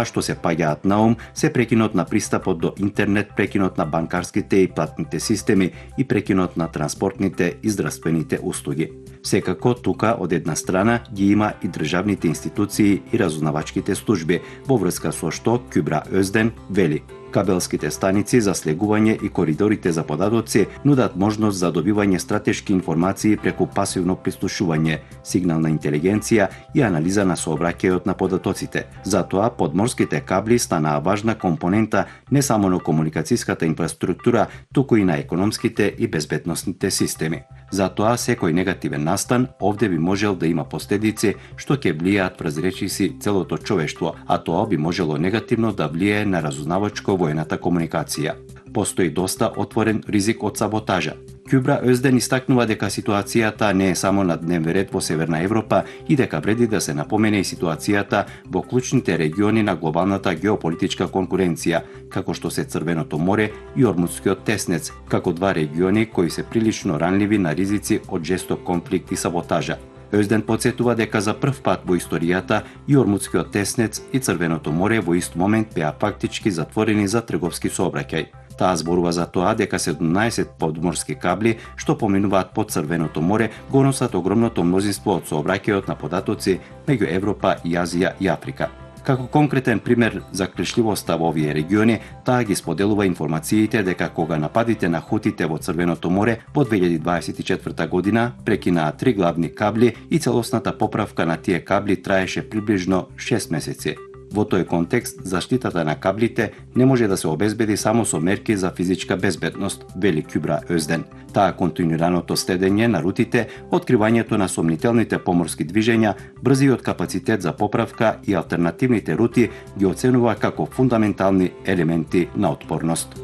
што се паѓаат на ум се прекинот на пристапот до интернет, прекинот на банкарските и платните системи и прекинот на транспортните и здравствените услуги. Секако тука од една страна ги има и државните институции и разузнавачките служби, во врска со што Кюбра Özdен вели: кабелските станици за слегување и коридорите за податоци нудат можност за добивање стратешки информации преку пасивно прислушување, сигнална интелигенција и анализа на сообраќајот на податоците. Затоа подморските кабли станаа важна компонента не само на комуникацијската инфраструктура, туку и на економските и безбедносните системи. Затоа секој негативен настан овде би можел да има последици што ќе влијаат врз речиси целото човештво, а тоа би можело негативно да влијае на разузнавачко-воената комуникација. Постои доста отворен ризик од саботажа. Кюбра Özdен истакнува дека ситуацијата не е само на дневен ред во Северна Европа и дека вреди да се напомене и ситуацијата во клучните региони на глобалната геополитичка конкуренција, како што се Црвеното море и Ормудскиот теснец, како два региони кои се прилично ранливи на ризици од жесток конфликт и саботажа. Özdен потсетува дека за прв пат во историјата и Ормудскиот теснец и Црвеното море во ист момент беа фактички затворени за трговски сообраќај. Таа зборува за тоа дека 17 подморски кабли што поминуваат под Црвеното море го носат огромното мнозинство од сообраќајот на податоци меѓу Европа и Азија и Африка. Како конкретен пример за клечливоста во овие региони, таа ги споделува информациите дека кога нападите на хутите во Црвеното море во 2024 година прекинаа 3 главни кабли и целосната поправка на тие кабли траеше приближно 6 месеци. Во тој контекст, заштитата на каблите не може да се обезбеди само со мерки за физичка безбедност, вели Кюбра Özdен. Таа континуираното следење на рутите, откривањето на сомнителните поморски движења, брзиот капацитет за поправка и алтернативните рути ги оценува како фундаментални елементи на отпорност.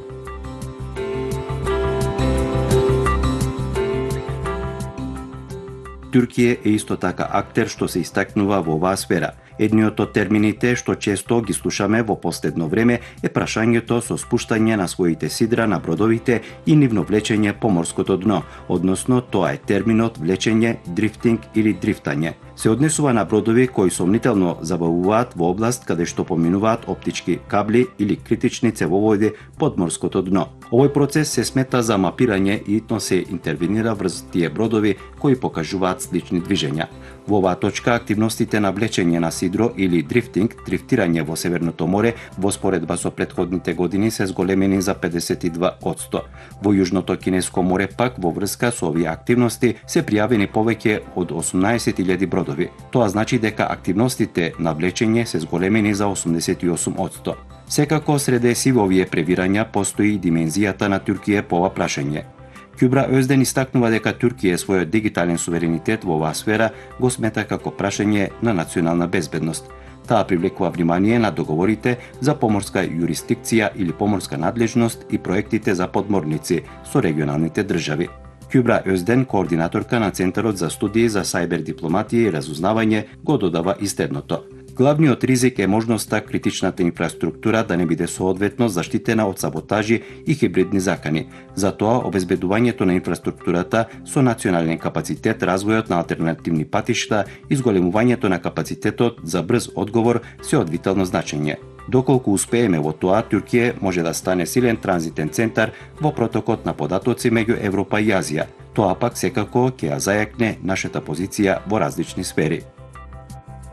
Туркија е исто така актер што се истакнува во оваа сфера. Едниот од термините што често ги слушаме во последно време е прашањето со спуштање на своите сидра на бродовите и нивно влечење по морското дно, односно тоа е терминот влечење, дрифтинг или дрифтање. Се однесува на бродови кои сомнително забавуваат во област каде што поминуваат оптички кабли или критични цевоводи под морското дно. Овој процес се смета за мапирање и итно се интервенира врз тие бродови кои покажуваат слични движења. Во оваа точка активностите на влечење на сидро или дрифтинг, дрифтирање во Северното море, во споредба со претходните години се зголемени за 52%. Во Јужното Кинеско море пак во врска со овие активности се пријавени повеќе од 18.000 бродови. Тоа значи дека активностите на влечење се зголемени за 88%. Секако среде си во овие превирања постои и димензијата на Туркија по ова прашање. Кюбра Özdен истакнува дека Туркија својот дигитален суверенитет во оваа сфера го смета како прашање на национална безбедност. Таа привлекува внимание на договорите за поморска јурисдикција или поморска надлежност и проектите за подморници со регионалните држави. Кюбра Özdен, координаторка на Центарот за студии за сајбер дипломатија и разузнавање, го додава и следното. Главниот ризик е можноста критичната инфраструктура да не биде соодветно заштитена од саботажи и хибридни закани. Затоа, обезбедувањето на инфраструктурата со национален капацитет, развојот на алтернативни патишта и зголемувањето на капацитетот за брз одговор се од витално значење. Доколку успееме во тоа, Туркија може да стане силен транзитен центар во протокот на податоци меѓу Европа и Азија. Тоа пак секако ќе ја зајакне нашата позиција во различни сфери.